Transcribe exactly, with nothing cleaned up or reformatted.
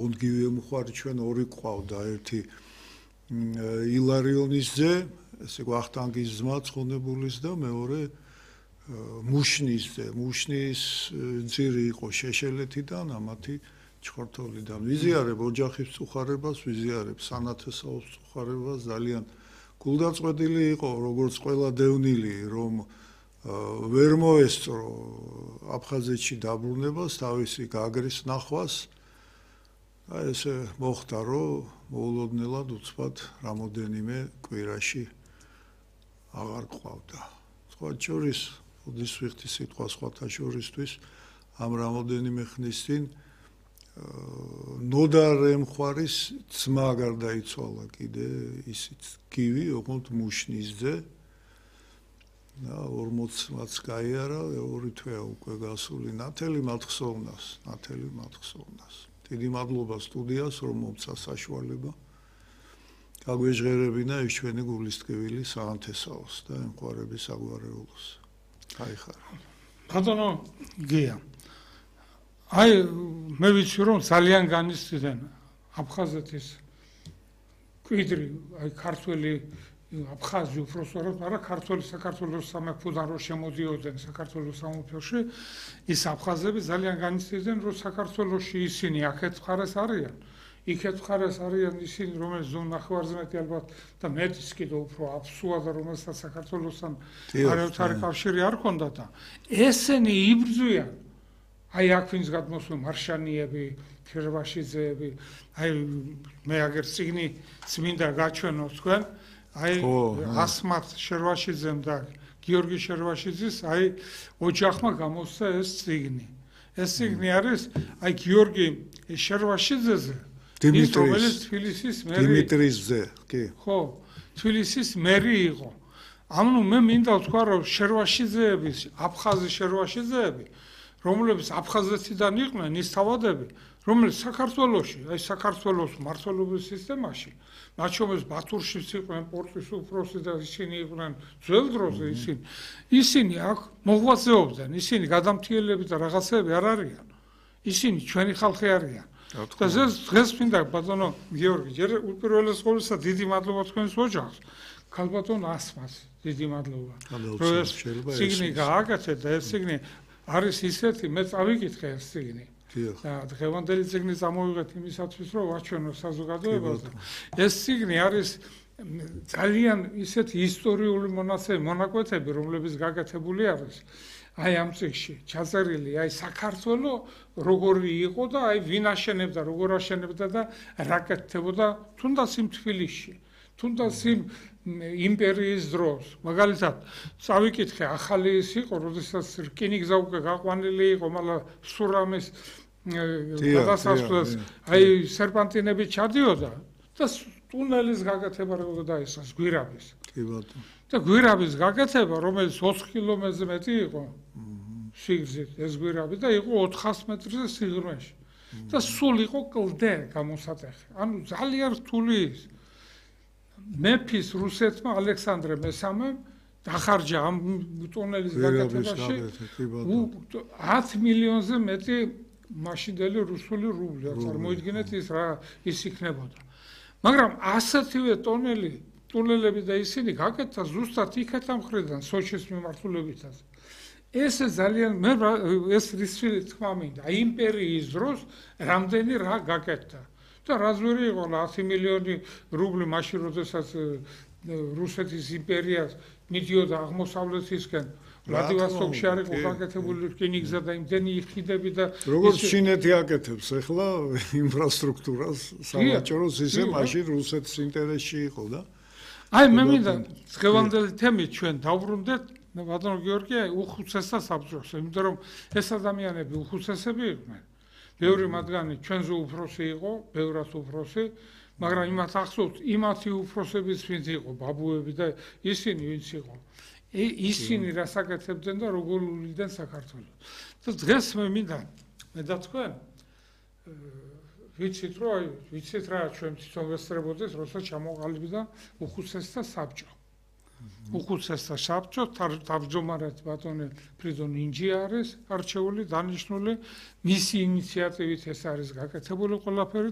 ონგივე მხარი ჩვენ ორი ყავდა, ერთი ილარიონის ძე, ესე ვახტანგის ძმა ცხონებულის და მეორე მუშნის ძე. მუშნის ძირი იყო შეშელეთიდან, ამათი ჩხორთოლიდან. ვიზიარებ ოჯახის წუხარებას, ვიზიარებ სანათესაოს წუხარებას, ძალიან გულდაწყვეტილი იყო, როგორც ყველა დევნილი, რომ ვერ მოესწრო აფხაზეთში დაბრუნებას, თავისი გაგრის ნახვას. აი ესე მოხდა, რომ მოულოდნელად უცბად რამოდენიმე კვირაში აღარ ყავდა. სხვა შორის, ოდის ვიხდი სიტყვა სხვათა შორისთვის, ამ რამოდენიმე ხნის წინ ნოდარ ემხვარის ძმა გარდაიცვალა კიდე, ისიც გივი, ოღონდ მუშნის ძე. და ორმოცმაც გაიარა, ორი თვეა უკვე გასული, ნათელი მათხსოვნას, ნათელი მათხსოვნას. დიდი მადლობა სტუდიას, რომ მომცა საშუალება. გაგვეჟღერებინა ეს ჩვენი გულისწყეველი საანთესაოს და ემყარების საგვარეულოს. გაიხარა. ბატონო გია. აი მე ვიცი რომ ძალიან განიცდიდან აფხაზეთის კვიდრი, აი ქართველი აფხაზი უბრალოდ არა ქართველი საქართველოს სამეფოდან რო შემოდიოდნენ საქართველოს სამეფოში, ის აფხაზები ძალიან განიცდიდნენ რომ საქართველოში ისინი აქეთ მხარეს არიან. იქეთ მხარეს არიან ისინი, რომელიც ზონ ნახევარზე ალბათ და მეტიც კიდე უფრო აფსუა და რომელსაც საქართველოსთან არაერთი კავშირი არ ჰქონდა და ესენი იბრძვიან. აი აქ ვინც გადმოსული მარშანიები, ქერვაშიძეები, აი მე აგერ წიგნი წმინდა გაჩვენო თქვენ, აი ასმათ შერვაშიძემ და გიორგი შერვაშიძის აი ოჯახმა გამოსცა ეს წიგნი. ეს წიგნი არის აი გიორგი შერვაშიძეზე, ის რომელიც თბილისის მერი დიმიტრის ძე, კი. ხო, თბილისის მერი იყო. ანუ მე მინდა ვთქვა რომ შერვაშიძეების, აფხაზი შერვაშიძეები რომლებიც აფხაზეთიდან იყვნენ ის თავადები, რომელიც საქართველოში, აი საქართველოს მმართველობის სისტემაში, მათ შორის ბათურშიც იყვნენ პორტის უფროსი და ისინი იყვნენ ძველ დროზე ისინი, ისინი აქ მოღვაწეობდნენ, ისინი გადამთიელები და რაღაცები არ არიან. ისინი ჩვენი ხალხი არიან. და დღეს მინდა ბატონო გიორგი, ჯერ უპირველეს ყოვლისა დიდი მადლობა თქვენს ოჯახს, ქალბატონ ასმას დიდი მადლობა. რომ ეს წიგნი გააკეთეთ და ეს წიგნი არის ისეთი, მე წავიკითხე ეს წიგნი. და დღევანდელი წიგნი წამოვიღეთ იმისათვის, რომ ვაჩვენო საზოგადოებას. ეს წიგნი არის ძალიან ისეთი ისტორიული მონაცემები, მონაკვეთები, რომლებიც გაკეთებული არის. აი ამ წიგნში ჩაწერილი, აი საქართველო როგორი იყო და აი ვინ აშენებდა, როგორ აშენებდა და რა კეთდებოდა თუნდაც იმ თბილისში, თუნდაც იმ იმპერიის დროს. მაგალითად, წავიკითხე, ახალი ის იყო, როდესაც რკინიგზა უკვე გაყვანილი იყო, მაგრამ სურამის გადასასვლელს აი სერპანტინები ჩადიოდა და ტუნელის გაკეთება როგორ დაისხეს გვირაბის. კი ბატონო. და გვირაბის გაკეთება, რომელიც ოთხ კილომეტრზე მეტი იყო სიგრძით ეს გვირაბი და იყო ოთხას მეტრზე სიღრმეში. და სულ იყო კლდე გამოსატეხი. ანუ ძალიან რთული ის. მეფის რუსეთმა ალექსანდრე მესამემ დახარჯა ამ ტუნელის გაკეთებაში ათი მილიონზე მეტი მაშინდელი რუსული რუბლი. წარმოიდგინეთ ის რა ის იქნებოდა. მაგრამ ასეთივე ტუნელი ტუნელები და ისინი გაკეთდა ზუსტად იქეთა მხრიდან სოჭის მიმართულებითაც. ეს ძალიან მე ეს რისი თქმა მინდა, იმპერიის დროს რამდენი რა გაკეთდა. და რა ზვერი იყო ათი მილიონი რუბლი მაშინ როდესაც რუსეთის იმპერიას მიდიოდა აღმოსავლეთისკენ, ვლადივოსტოკში არ იყო გაკეთებული რკინიგზა და იმდენი ხიდები და როგორც ჩინეთი აკეთებს ახლა ინფრასტრუქტურას სავაჭროს, ისე მაშინ რუსეთის ინტერესში იყო და აი მე მინდა დღევანდელი თემით ჩვენ დავბრუნდეთ, მე ბატონო გიორგი, უხუცესთა საბჭოს, იმიტომ რომ ეს ადამიანები უხუცესები იყვნენ. ბევრი მათგანი ჩვენზე უფროსი იყო, ბევრად უფროსი, მაგრამ იმათ ახსოვთ, იმათი უფროსების ვინც იყო, ბაბუები და ისინი ვინც იყო. ისინი რას აკეთებდნენ და როგორ უვლიდნენ საქართველოს. და დღეს მე მინდა მე და თქვენ ვიცით რომ ვიცით რა ჩვენ თვითონ ვესწრებოდეს, როცა ჩამოყალიბდა უხუცესთა საბჭო. უხუცესთა საბჭო თავმჯდომარედ ბატონი ფრიდონ ინჯი არის არჩეული, დანიშნული, მისი ინიციატივით ეს არის გაკეთებული ყველაფერი.